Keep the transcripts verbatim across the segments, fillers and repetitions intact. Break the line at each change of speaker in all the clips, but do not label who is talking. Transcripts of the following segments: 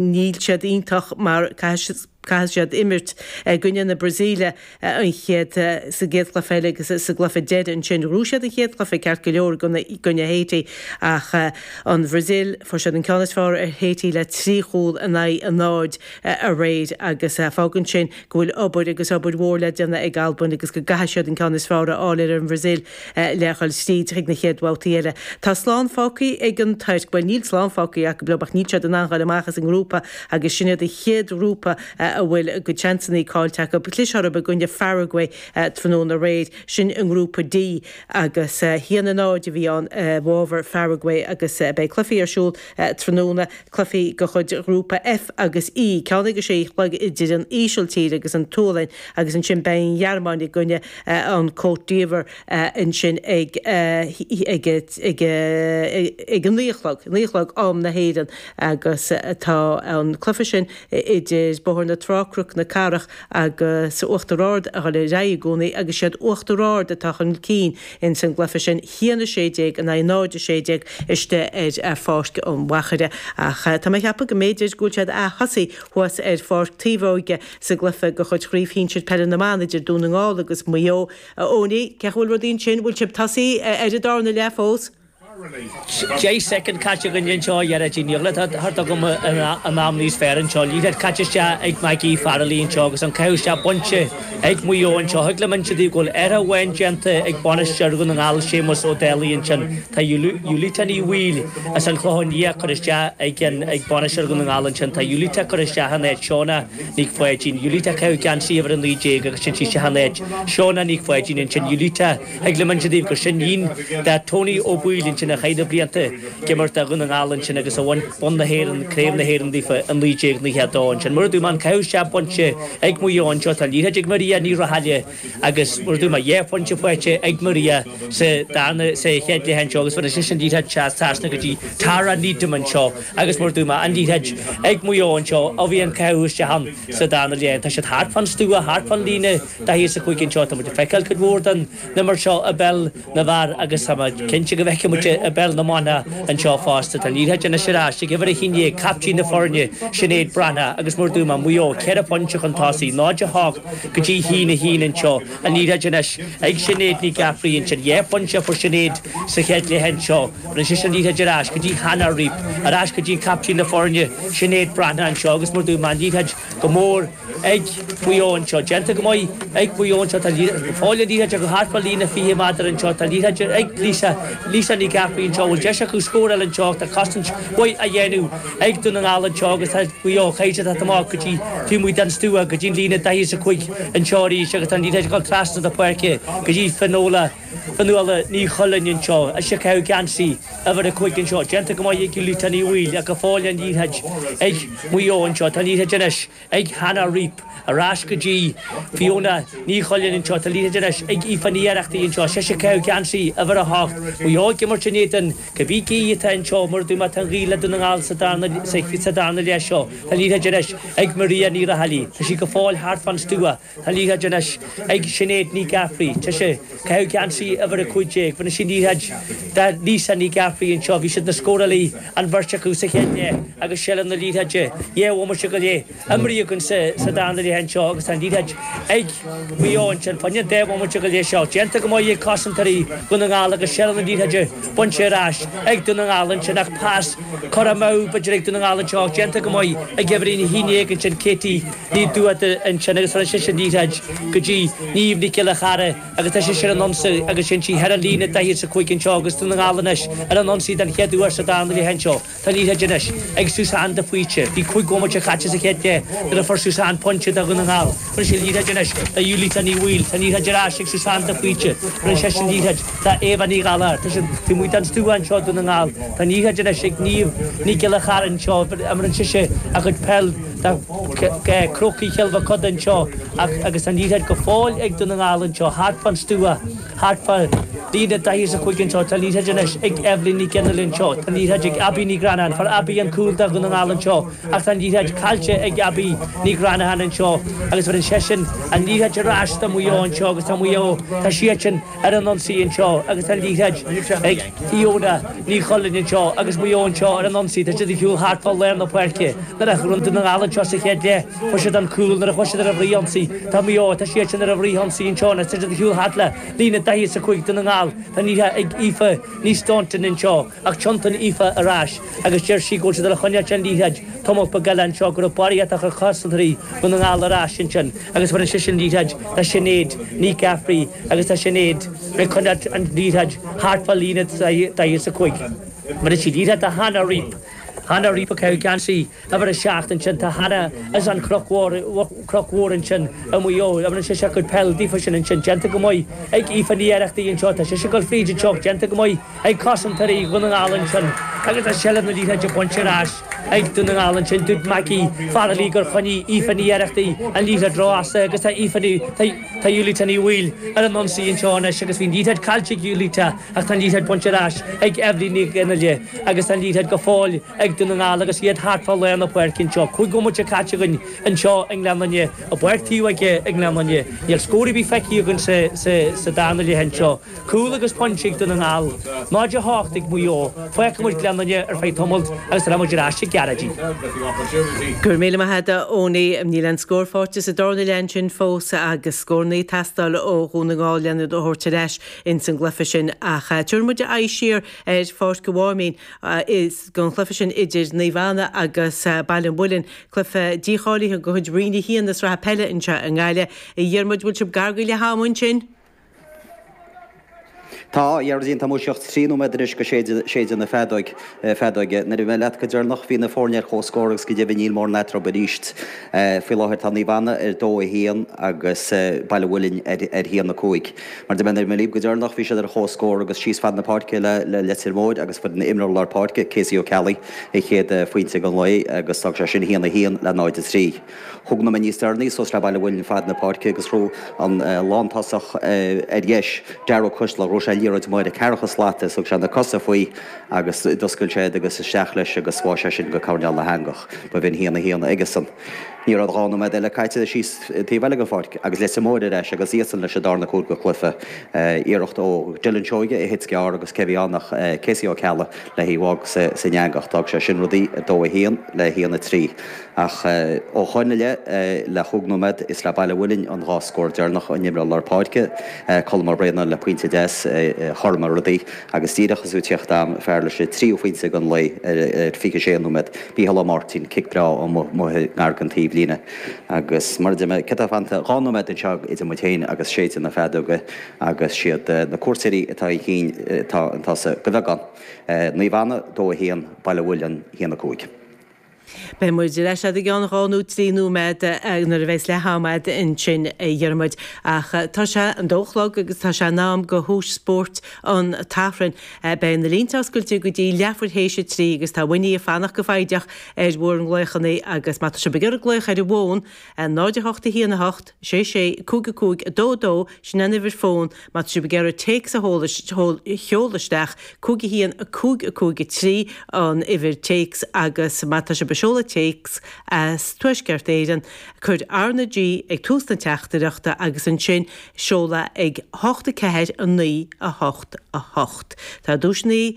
Níl siad iontach mar caithfidh siad imirt i gcoinne na Brasaíle an chéad sa gcéad chluiche eile agus sa gcluiche deiridh ansin. Ghnóthaigh siad an chéad chluiche ceart go leor i gcoinne Haiti ach an Bhrasaíl, fuair siad an ceann is fearr ar Haiti le trí chúl in aghaidh a náid aréir agus fágann sin go bhfuil obair agus obair mhór le déanamh ag Albain agus go gcaithfidh siad an ceann is fearr a fháil ar an Bhrasaíl le dhul tríd chuig na chéad bhabhtaí eile. Tá slán fágtha ag an Tuirc, bhuel níl slán fágtha acu ach níl siad in ann dhul amach as an ngrúpa agus sin iad an chéad ghrúpa a bhfuil a gcuid seansanna caillte acu. Chlis orthu i gcoinne Pharagway tráthnóna aréir, sin i ngrúpa D agus a haon a náid a bhí ann i bhfabhar Pharagway agus beidh cluichí ar siúl tráthnóna, cluichí de chuid ghrúpa F agus E, ceann ag a sé a chlog idir an Ísiltír agus an tSualainn agus ansin beidh an Ghearmáin i gcoinne an Côte d'Ivoire ansin ag ag ag ag a naoi a chlog, naoi a chlog am na hÉireann agus tá an cluiche sin idir Bóthar na Trá, Cnoc na Cathrach agus Uachtar Ard a dhul ar aghaidh i gcónaí agus siad Uachtar Ard atá chun cinn ins an gcluiche sin, haon a sé déag in aghaidh náid a sé déag istigh ar Pháirc an Mhachaire. Ach tá mé ag ceapadh go mb'fhéidir go bhfuil siad a' thosaí thuas ar Pháirc Taobhóige sa gcluiche de chuid Chraobh Shinsir Peile na mBan idir Dún na nGall agus Maigh Eo. A Eoiní, cén chaoi a bhfuil rudaí ansin? Bhfuil sibh tosaí ar an darna leath fós?
Deich soicind caite againn anseo a Ghearóidín. Níl tá thart agam an am níos fearr anseo. Liathróid caite isteach ag Maggie Farrelly anseo agus an caitheamh isteach bainte ag Maigh Eo anseo. Thig liom inse daoibh go bhfuil athrú amháin déanta ag bainisteoir Dhún na nGall, Séamus Ó Dálaigh ansin. Tá Julita Ní Bhaoill as an Chlochán Liath curtha isteach ag an ag bainisteoir Dhún na nGall ansin. Tá Julita curtha isteach in áit Shona Nic Pháidín. Julita ag caitheamh geansaí uimhir a naoi déag agus sin sí isteach in áit Shona Nic Pháidín ansin. Julita Thig liom inse daoibh gur sin iníon de Tony Ó Baoill ansin a chaith na blianta ag imirt do Dhún na nGall ansin agus a bhain bonn na hÉireann, Craobh na hÉireann daofa i naoi déag naocha a dó ansin. Mar a dúirt mé, an caitheamh isteach bainte ag Maigh Eo anseo, tá an liathróid ag Maria Ní Rathaille agus mar a dúirt mé, dhá phointe faighte ag Maria sa darna, sa chéad leath anseo agus bhain sise an liathróid trasna go dtí Tara Needham anseo agus mar a dúirt mé, an liathróid ag Maigh Eo anseo a bhí an caitheamh isteach ann sa darna leath. Tá siad thart fán stua, thart fán líne daichead is a cúig anseo, tá muid ag feiceáil cuid mhór den imirt seo i bpeil na bhfear agus tá mé cinnte go bhfeicfidh muid i bpeil na mban anseo fosta. Tá an liathróid anois ar ais ag uimhir a haon déag, captaen na foirne, Sinéad Breathnach agus mar a dúirt mé, Maigh Eo ceithre phointe chun tosaigh, náid a hocht go dtí haon a haon anseo. An liathróid anois ag Sinéad Ní Ghafraidh ansin. Dhá phointe a fuair Sinéad sa chéad leath anseo. Bhronn sise an liathróid ar ais go dtí Hannah Reap, ar ais go dtí an captaen na foirne, Sinéad Breathnach anseo agus mar a dúirt mé, an liathróid go mór ag Maigh Eo anseo. Déanta go maith ag Maigh Eo anseo. Tá fáil an liathróid acu thart fá líne fiche méadar anseo. Tá liathróid ag Lisa, Lisa Ní Ghafraidh anseo. Bhfuil deis acu scór eile anseo ach tá cosaint mhaith á dhéanamh ag Dún na nGall anseo agus tá Maigh Eo caithfidh siad teacht amach go dtí taobh amuigh den stua go dtí an líne daichead is a cúig anseo arís agus tá an liathróid ag dul trasna na páirce go dtí Finola, Fionnuala Ní Chuilinn anseo. Ise ag caitheamh geansaí uimhir a cúig anseo. Déanta go maith ag Julita Ní Bhaoill ach go fóill an liathróid ag Maigh Eo anseo. Tá an liathróid anois ag Hannah Reap. Ar ais go dtí Fiona Ní Chuilinn anseo. Tá an liathróid anois ag Aoife Ní Oireachtaigh anseo. Sise ag caitheamh geansaí uimhir a hocht. Maigh Eo ag imirt in éadan cibé gaoth atá anseo mar a dúirt mé tá an ghaoth le Dún na nGall sa darna sa darna leath seo. Tá an liathróid anois ag Maria Ní Raghallaigh. Tá sí go fóill thart fán stua. Tá an liathróid anois ag Sinéad Ní Ghafraidh. Tá sí ag caitheamh geansaí uimhir a cúig déag. Bhronn sí an liathróid do Lisa Ní Ghafraidh anseo. Bhí siad na scórálaí an bheirt acu sa chéad leath agus seilbh na liathróide dhá bhomaite go leith imeartha againn sa darna leath anseo agus tá an liathróid ag Maigh Eo ansin. Fá choinne an dá bhomaite go leith seo. Déanta go maith ag cosantóirí Dhún na nGall agus seilbh na liathróide bainte ar ais ag Dún na nGall ansin ach pas curtha amú b'fhéidir ag Dún na nGall anseo ach déanta go maith ag uimhir a haon déag ansin Katie Ní Dúata ansin agus rinne sise an liathróid go dtí Niamh Nic Giolla Chara agus tá sise ar an ionsaí agus sin sí thar an líne daichead is a cúig anseo agus Dún na nGall anois ar an ionsaí den chéad uair sa darna leath anseo. Tá an liathróid anois ag Suzanne de Faoite. Bhí cúig bhomaite caite sa chéad leath nuair a fuair Suzanne pointe do Dhún na nGall. Rinne sí an liathróid anois do Julita Ní Bhaoill. Tá an liathróid ar ais ag Suzanne de Faoite. Rinne sise an liathróid do Éabha Ní Ghallachair. Tá siad taobh amuigh den stua anseo Dún na nGall. Tá an liathróid anois ag Niamh Nic Giolla Chara anseo. Imríonn sise a cuid peil do Chrócaigh Chill Mochuda anseo ach agus an liathróid go fóill ag Dún na nGall anseo thart fán stua, thart fá Líne daichead is a cúig anseo, tá an liathróid anois ag Evelyn Ní Ghionnaile anseo, tá an liathróid ag Abbie Ní Ghranacháin, fuair Abbie an cúl do Dhún na nGall anseo ach tá an liathróid caillte ag Abbie Ní Ghranacháin anseo agus bheireann seisean an liathróid ar ais do Mhaigh Eo anseo agus tá Maigh Eo, tá siadsan ar an ionsaí anseo agus tá an liathróid ag Fiona Ní Chulainn anseo agus Maigh Eo anseo ar an ionsaí, tá siad ag siúl thart fá lár na páirce nuair a ghnóthaigh Dún na nGall anseo sa chéad leath, fuair siad an cúl nuair a chuaigh siad ar an bhfrithionsaí, tá Maigh Eo, tá siadsan ar an bhfrithionsaí anseo anois, tá siad ag siúl thart le líne daichead is a cúig Dún na nGall, tá an liathróid ag Aoife Ní Staunton anseo ach tiontaíonn Aoife ar ais agus deir sí go bhfuil siad ar a choinneáilt an liathróid tamall beag eile anseo go raibh barraíocht a chur cosantóirí Dhún na nGall ar ais ansin agus bheireann sise an liathróid do Sinéad Ní Ghafraidh agus tá Sinéad ag coinneáilt an liathróid thart fá líne daichead is a cúig. Bheireann sí liathróid do Hannah Reap. Hannah Reap ag caitheamh geansaí uimhir a seacht ansin. Tá Hannah as an Chnoc Mhór, Cnoc Mhór ansin i Maigh Eo. Bheireann sise a cuid peil daofa sin ansin. Déanta go maith ag Aoife Ní Oireachtaigh anseo. Tá sise ag dul fríd anseo. Déanta go maith ag cosantóirí Dhún na nGall ansin. Agus tá seilbh na liathróide bainte ar ais ag Dún na nGall ansin. Dúirt Maggie Farrelly gur choinnigh Aoife Ní Oireachtaigh an liathróid ró-fhada agus tá Aoife Ní, tá, tá Julita Ní Bhaoill ar an ionsaí anseo anois agus bhí an liathróid caillte ag Julita ach tá an liathróid bainte ar ais ag Eibhlín Ní Ghionnaile agus tá an liathróid go fóill ag Dún na nGall agus iad thart fá lár na páirce anseo. Cúig bhomaite caite againn anseo i nGleann Fhinne, i bPáirc Taobh Aige i nGleann Fhinne. Níl scór ar bith feicthe againn sa darna leath anseo. Cúl agus pointe ag Dún na nGall, náid a hocht ag Maigh Eo. Fágfaidh muid Gleann Fhinne ar feadh tamaill agus rachaidh muid ar ais ag Gearóidín.
Go raibh míle maith agat a Eoiní. Níl aon scór faighte sa darna leath ansin fós agus scóranna ag teastáil ó Dhún na nGall lena thabhairt ar ais ins an gcluiche sin ach tabharfaidh muid aghaidh siar ar Pháirc an Mháimín is don chluiche sin idir Naomh Anna agus Baile an Mhuilinn, cluiche dícháilithe de chuid Roinn a haon na sraithe peile anseo i nGaillimh. A Dhiarmuid, bhfuil sibh gar go leath ama ansin?
Tá, a Ghearóidín, tá muid ach trí nóiméad anois go séideadh na feadóige. Nuair a bhí mé leat go deireanach bhí na foirne ar comhscór agus go deimhin níl mórán eatarthu arís. Faoi láthair tá Naomh Anna ar dó a haon agus Baile an Mhuilinn ar haon a cúig. Mar a deir mé nuair a bhí mé libh go deireanach bhí siad ar chomhscór agus síos fad na páirce le Leitir Móir agus fuair an imreoir lár páirce, Casey Ó Ceallaigh, a chéad phointe den lae agus d'fhág sé sin a haon a haon le náid a trí. Chúig nóiméad níos deireanaí suas le Baile an Mhuilinn fad na páirce agus ghnóthaigh an lántosach ar dheis, Darragh Ó Coisdealbha, ghnóthaigh sé liathróid amuigh ar an ceathracha slat is thug sé na cosa faoi agus d'oscail sé iad agus isteach leis agus bháigh sé sin go coirnéal na heangach. Ba bhinn haon a haon aigesan. Ní raibh dhá nóiméad eile caite síos taobh eile den pháirc agus Leitir Móir ar ais agus iadsan leis an darna cúl den chluiche. Iarracht ó Dylan Seoige a thit gearr agus cé a bhí ann ach Casey Ó Ceallaigh le hí a bhádh san eangach. D'fhág sé sin rudaí a dó a haon le haon a trí. Ach ó shoin i leith, le chúig nóiméad, is le Baile an Mhuilinn an dhá scór deireanach an imreoir lár páirce, Colm Ó Braonáin le pointe deas a chothromaigh rudaí agus díreach is tú ag tíocht am fear leis an tríú phointe den lae ar fiche sé nóiméad, Mícheál Ó Máirtín, cic breá amuigh i ngar don taobhlíne agus mar a deir mé, céard atá fanta? Dhá nóiméad anseo idir muid féin agus séideadh na feadóige agus siad na cuairteoirí atá chun cinn atá chun tosaigh de bheagán. Naomh Anna, dó a haon, Baile an Mhuilinn, a haon a cúig.
Beidh muid ar ais i gceann dhá nó trí nóiméad nuair a bheas leath am a'd ansin, a Dhiarmuid. Ach tá sé an dó a chlog agus tá sé in am do thomhais spóirt an tSathairn. Beidh na línte oscailte go dtí leathuair théis a trí agus tá Winnie ag fanacht go foighdeach ar bhur nglaochanna agus má tá sibh ag iarraidh glaoch ar an bhfón, náid a hocht a haon a hocht, sé sé, cúig a cúig, a dó a dó, sin an uimhir fóin, má tá sibh ag iarraidh téacs a sheoladh isteach, cúig a haon, a cúig a cúig a trí an uimhir téacs agus má tá sibh ag seoladh téacs as Tuaisceart Éireann, cuir R na G ag tús na teachtaireachta agus ansin seol é ag hocht a ceathair a naoi a hocht a hocht. Tá duaiseanna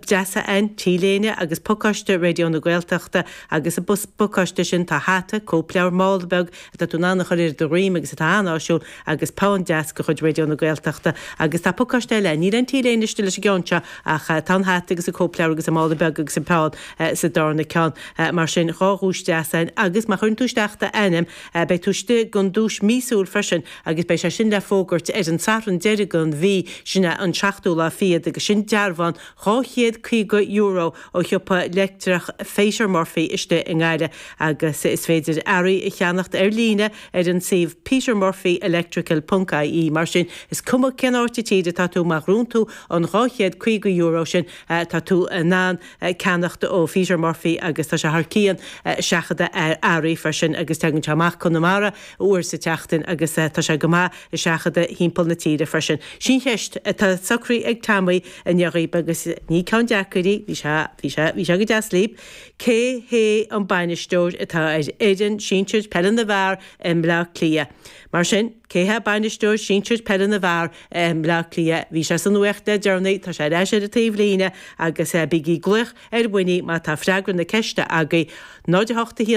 deasa ann, T-léine agus pacáiste Raidió na Gaeltachta agus sa bpacáiste sin tá hata, cóipleabhar, mála beag atá tú in ann a chur ar do dhroim agus atá an-áisiúil agus peann deas de chuid Raidió na Gaeltachta agus tá pacáiste eile, níl an T-léine istigh leis an gceann seo ach tá an hata agus an cóipleabhar agus an mála beag agus an peann sa darna ceann. Mar sin dhá dhuais deas ann agus má chuireann tú isteach d'ainm beidh tú istigh don duais míosúil freisin agus beidh sé sin le fógairt ar an Satharn deiridh den mhí, sin é an seachtú lá fichead agus sin dearbhán dhá chéad caoga euro ó shiopa leictreach Pheter Murphy istigh i nGaillimh agus is féidir earraí a cheannacht ar líne ar an suíomh petermurphyelectrical ponc ie. Mar sin, is cuma cén áit sa tír atá tú, má ghnóthaíonn tú an dhá chéad caoga euro sin, tá tú in ann ceannacht ó Pheter Murphy agus tá sé sé thar cionn seachadadh earraí freisin agus tagann sé amach Conamara uair sa tseachtain agus tá sé go maith ag seachadadh thimpeall na tíre freisin. Sin cheist atá socraithe ag Tommy inniu dhaoib agus ní ceann deacair í, bhí sé, bhí sé, bhí sé go deas libh. Cé hé an bainisteoir atá ar fhoireann sinsir peile na bhfear i mBleá Cliath? Mar sin, cé hé bainisteoir sinsir peile na bhfear i mBleá Cliath? Bhí sé sa nuacht le deireanaí, tá sé ar ais ar an taobh líne agus bígí ag glaoch ar Winnie má tá freagra na ceiste agaibh. náid a hocht a haon.